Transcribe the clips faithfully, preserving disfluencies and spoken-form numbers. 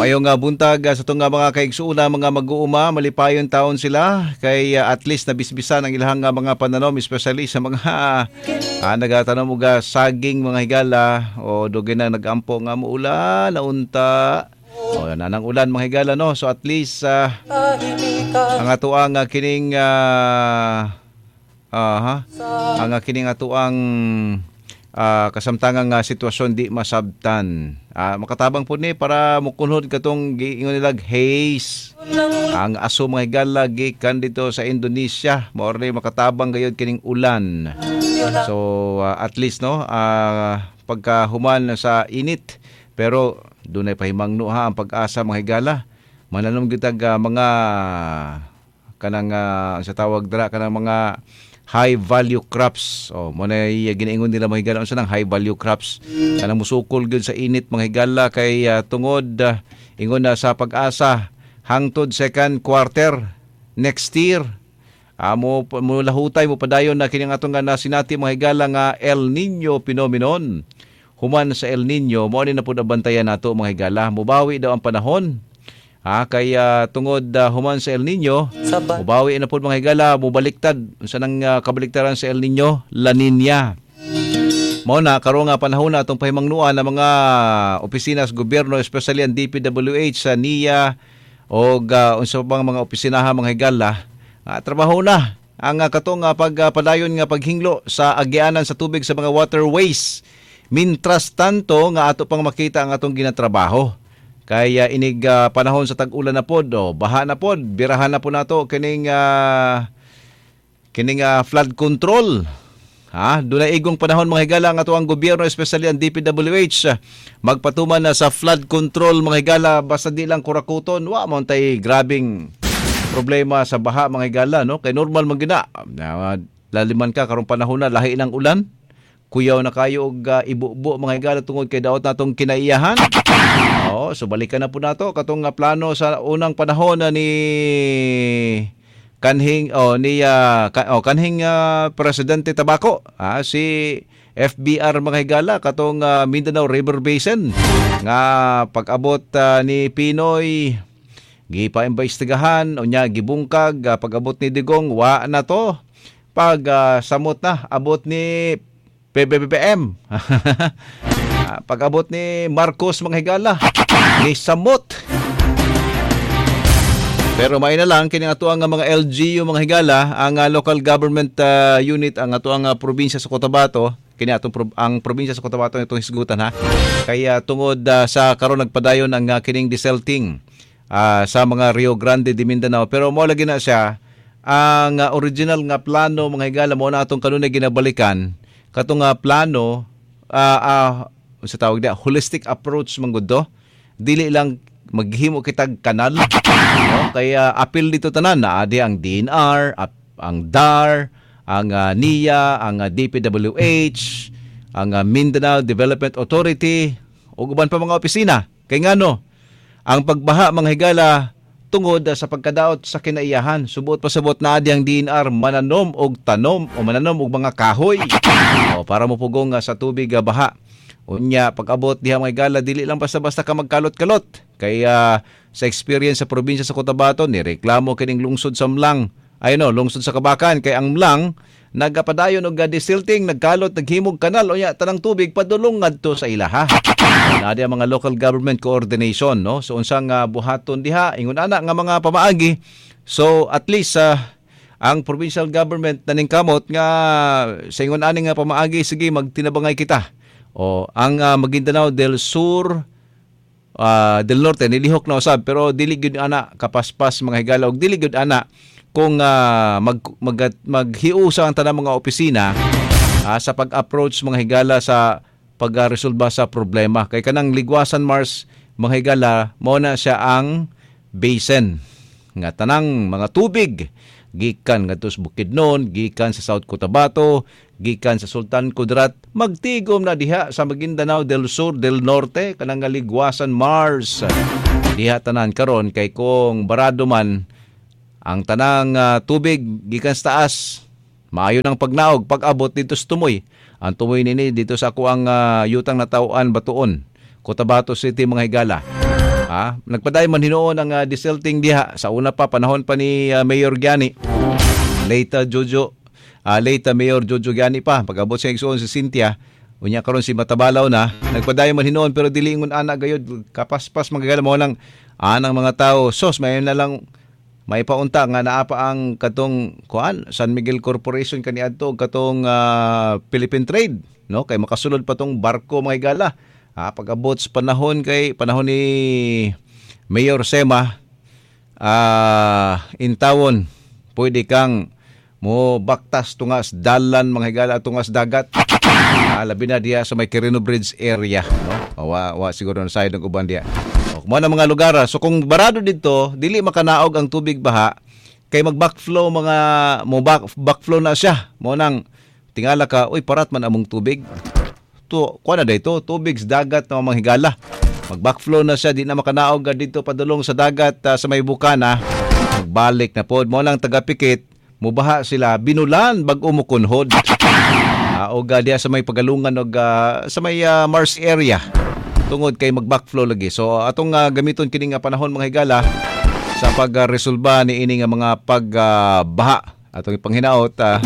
Maayong nga buntag ah, sa atong nga mga kaigsuuna, mga mag-uuma, malipayon taon sila kay ah, at least nabisbisan ang ilang nga mga pananom, especially sa mga ah, nagatanom og ah, saging, mga higala, o dugay na nagampo nga muulan na unta. O nanang ulan, mga higala, no. So at least ah, ang atoang uh, kining ah aha, ang uh, kining atoang uh, kasamtangang nga sitwasyon di masabtan. Ah, makatabang po ni para mukunhod katong giingon nilag haze. Ang aso, mga higala, gikan dito sa Indonesia. Mao ni makatabang gayud kining ulan. So ah, at least, no, ah, pagkahuman sa init, pero dunay pahimangno ha ang pag-asa, mga higala. Mananom gitag ah, mga kanang uh, sa tawag dira, kanang mga high value crops. Oh, mo na ginaingon nila, mga higala, unsa nang high value crops? Kanang musukol gyud sa init, mga higala, kay ah, tungod ah, ingon na sa Pag-asa hangtod second quarter next year. Amo mo lahutay mo padayon na kini atong nga nasinati, mga higala, nga El Nino phenomenon. Human sa El Nino, mo ni na pud ang bantayan nato, mga higala. Mubawi daw ang panahon. Ha, kaya tungod uh, human sa El Nino, mubawi na pud, mga higala, mubaliktad unsa nang uh, kabaliktaran sa El Nino, La Nina. Mao na karon nga panahon na atong pahimangnuan ng mga opisina sa gobyerno, especially ang D P W H sa N I A o uh, unsa pang mga opisinaha, mga higala, uh, trabaho na ang uh, katong uh, pagpadayon nga paghinglo sa agianan sa tubig sa mga waterways. Mintras tanto nga ato pang makita ang atong ginatrabaho. Kaya inig uh, panahon sa tag-ulan na pod, oh, baha na pod, birahan na po nato kining uh, kining uh, flood control. Ha, dunay igong panahon, mga higala, ang atoang gobyerno, especially ang D P W H, magpatuman na sa flood control, mga higala, basta di lang kurakuton, wa man tay grabing problema sa baha, mga higala, no? Kay normal man gina. Uh, laliman ka karong panahon na lahi ng ulan. Kuyaw na kayo og uh, ibubo, mga higala, tungod kay daot natong kinaiyahan. Oo, so balikan na po nato katong uh, plano sa unang panahon na ni kanhing oh ni uh, ka, oh, kanhing uh, Presidente Tabako, ah, si F B R, mga higala, katong uh, Mindanao River Basin nga pag-abot uh, ni P Noy gipaimbestigahan, unya gibungkag. uh, pag-abot ni Digong, wa na to. Pag uh, samot na abot ni P B B M, uh, pag-abot ni Marcos, mga higala, ni samot. Pero may na lang kini ato ang mga L G U, mga higala, ang uh, local government uh, unit, ang ato ang uh, probinsya sa Cotabato, kini atong pro- ang probinsya sa Cotabato itong hisgutan ha. Kaya tungod uh, sa karon nagpadayon ang uh, kining desilting uh, sa mga Rio Grande de Mindanao. Pero mo lagi na siya ang uh, original nga plano, mga higala, mo na atong kanunay ginabalikan katong uh, plano, uh, uh, sa tawag dia holistic approach man gud do. Dili lang maghimo kitag kanal, no? Kaya apil dito tanan na adi ang D E N R, ap, ang D A R, ang uh, N I A, ang uh, D P W H, ang uh, Mindanao Development Authority ug uban pa mga opisina. Kay ngano ang pagbaha, mga higala, tungod sa pagkadaot sa kinaiyahan. Subot pasabot na adi ang D E N R mananom og tanom o mananom og mga kahoy o para mopugong uh, sa tubig uh, baha. Unya pag-abot diha, mga higala, dili lang basta-basta ka magkalot-kalot. Kaya sa experience sa probinsya sa Cotabato, ni reklamo kining lungsod sa M'lang. Ay no, lungsod sa Kabacan, kay ang M'lang nagapadayon og desilting, nagkalot, naghimog kanal, unya tanang tubig padulong ngadto sa ilaha. Naa ang mga local government coordination, no? So unsang uh, buhaton diha, ingon ana nga mga pamaagi. So at least uh, ang provincial government naningkamot nga sa ingon ani nga pamaagi, sige, magtinabangay kita. O ang uh, Maguindanao del Sur, uh, del Norte nilihok na usab, pero dili gyud ana kapaspas, mga higala, og dili gyud ana kung uh, mag, mag maghiusa ang tanang mga opisina uh, sa pag-approach, mga higala, sa pagresolba sa problema, kay kanang Liguasan Marsh, mga higala, mao na siya ang basin nga tanang mga tubig gikan ngadto sa Bukidnon, gikan sa South Cotabato, gikan sa Sultan Kudarat, magtigom na diha sa Maguindanao del Sur, del Norte, kanang nga Liguasan Marsh. Diha tanan karon, kay kung barado man ang tanang uh, tubig gikan sa taas, maayo ng pagnaog pag-abot dito sa Tumoy. Ang Tumoy nini dito sa ako ang uh, yutang natawhan, Batuon, Cotabato City, mga higala. Ah, nagpadayon man hinuon ang uh, desilting diha sa una pa, panahon pa ni uh, Mayor Gyani. Later Jojo, uh, later Mayor Jojo Gyani pa, pag-abot sa igsuon si Cynthia, unya karon si Matabalaw na, nagpadayon man hinuon pero dili ingon ana gayud kapaspas magagala mo lang anang mga tao. Sos may na lang may paunta nga naa pa ang katong kuan San Miguel Corporation kaniadto katong uh, Philippine Trade, no, kay makasulod pa tong barko mga higala. Ah, pag-abot sa panahon kay panahon ni Mayor Sema, ah, intawon pwede kang mo baktas tungas dalan mga higala, tungas dagat. Ah, labi na diha sa may Quirino Bridge area, no? Wa, wa siguro na side ng uban diha. O, mo na mga lugar. So kung barado didto, dili makanaog ang tubig baha kay mag backflow mga mo back, backflow na siya. Mo nang tingala ka, uy, parat man among tubig. To, kuha na dito, tubig sa dagat na mga higala. Mag-backflow na siya, di na makanaog dito padulong sa dagat uh, sa may bukana. Magbalik na pod. Mo lang tagapikit, mubaha sila, binulan bag-o mukunhod. Uh, og uh, diya sa may pagalungan og uh, sa may uh, Mars area. Tungod kay mag-backflow lagi. So atong uh, gamiton kini nga panahon mga higala sa pag-resolba ni ini nga mga pagbaha. Uh, atong ipanghinaot uh,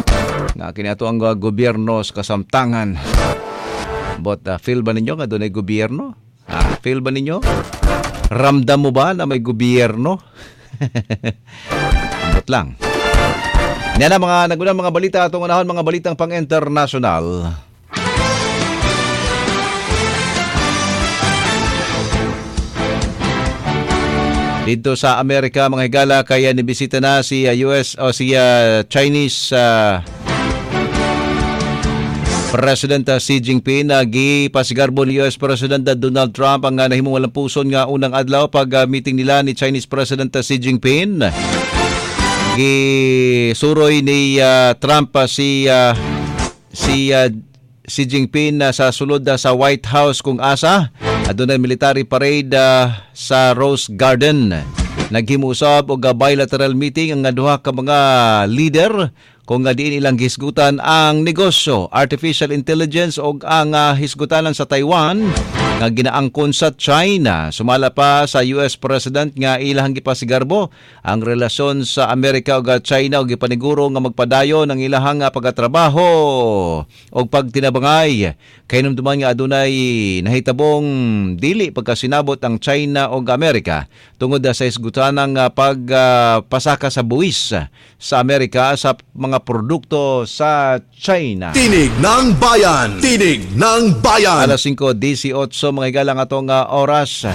nga kini ato ang uh, gobyerno sa kasamtangan. But uh, feel ba ninyo nga doon ay gobyerno? Ah, feel ba ninyo? Ramdam mo ba na may gobyerno? Ambot lang. Yan na mga nagunang mga balita atong unahon, mga balitang pang-international. Dito sa Amerika mga higala, kaya nibisita na si uh, U S o si uh, Chinese uh, President Xi Jinping. Nagipasigarbo ni U S President Donald Trump ang nahimong walang puson nga unang adlaw pag meeting nila ni Chinese President Xi Jinping. Gisuroy ni uh, Trump uh, si uh, si uh, Xi Jinping uh, sa sulod uh, sa White House kung asa adunay military parade uh, sa Rose Garden. Naghimusab og bilateral meeting ang duha ka mga leader kung nga diin ilang hisgutan ang negosyo, artificial intelligence o ang uh, hisgutanan sa Taiwan nga ginaangkon sa China. Sumala pa sa U S President nga ilahang gipasigarbo ang relasyon sa Amerika ug China ug gipaniguro nga magpadayon ang ilahang pagatrabaho og pagtinabangay. Kahinumduman nga adunay nahitabong dili pagkasinabot ang China ug Amerika tungod sa hisgutanang pagpasaka sa buwis sa Amerika sa mga produkto sa China. Tinig ng Bayan! Tinig ng Bayan! Alas singko diesotso mga igalang atong uh, oras.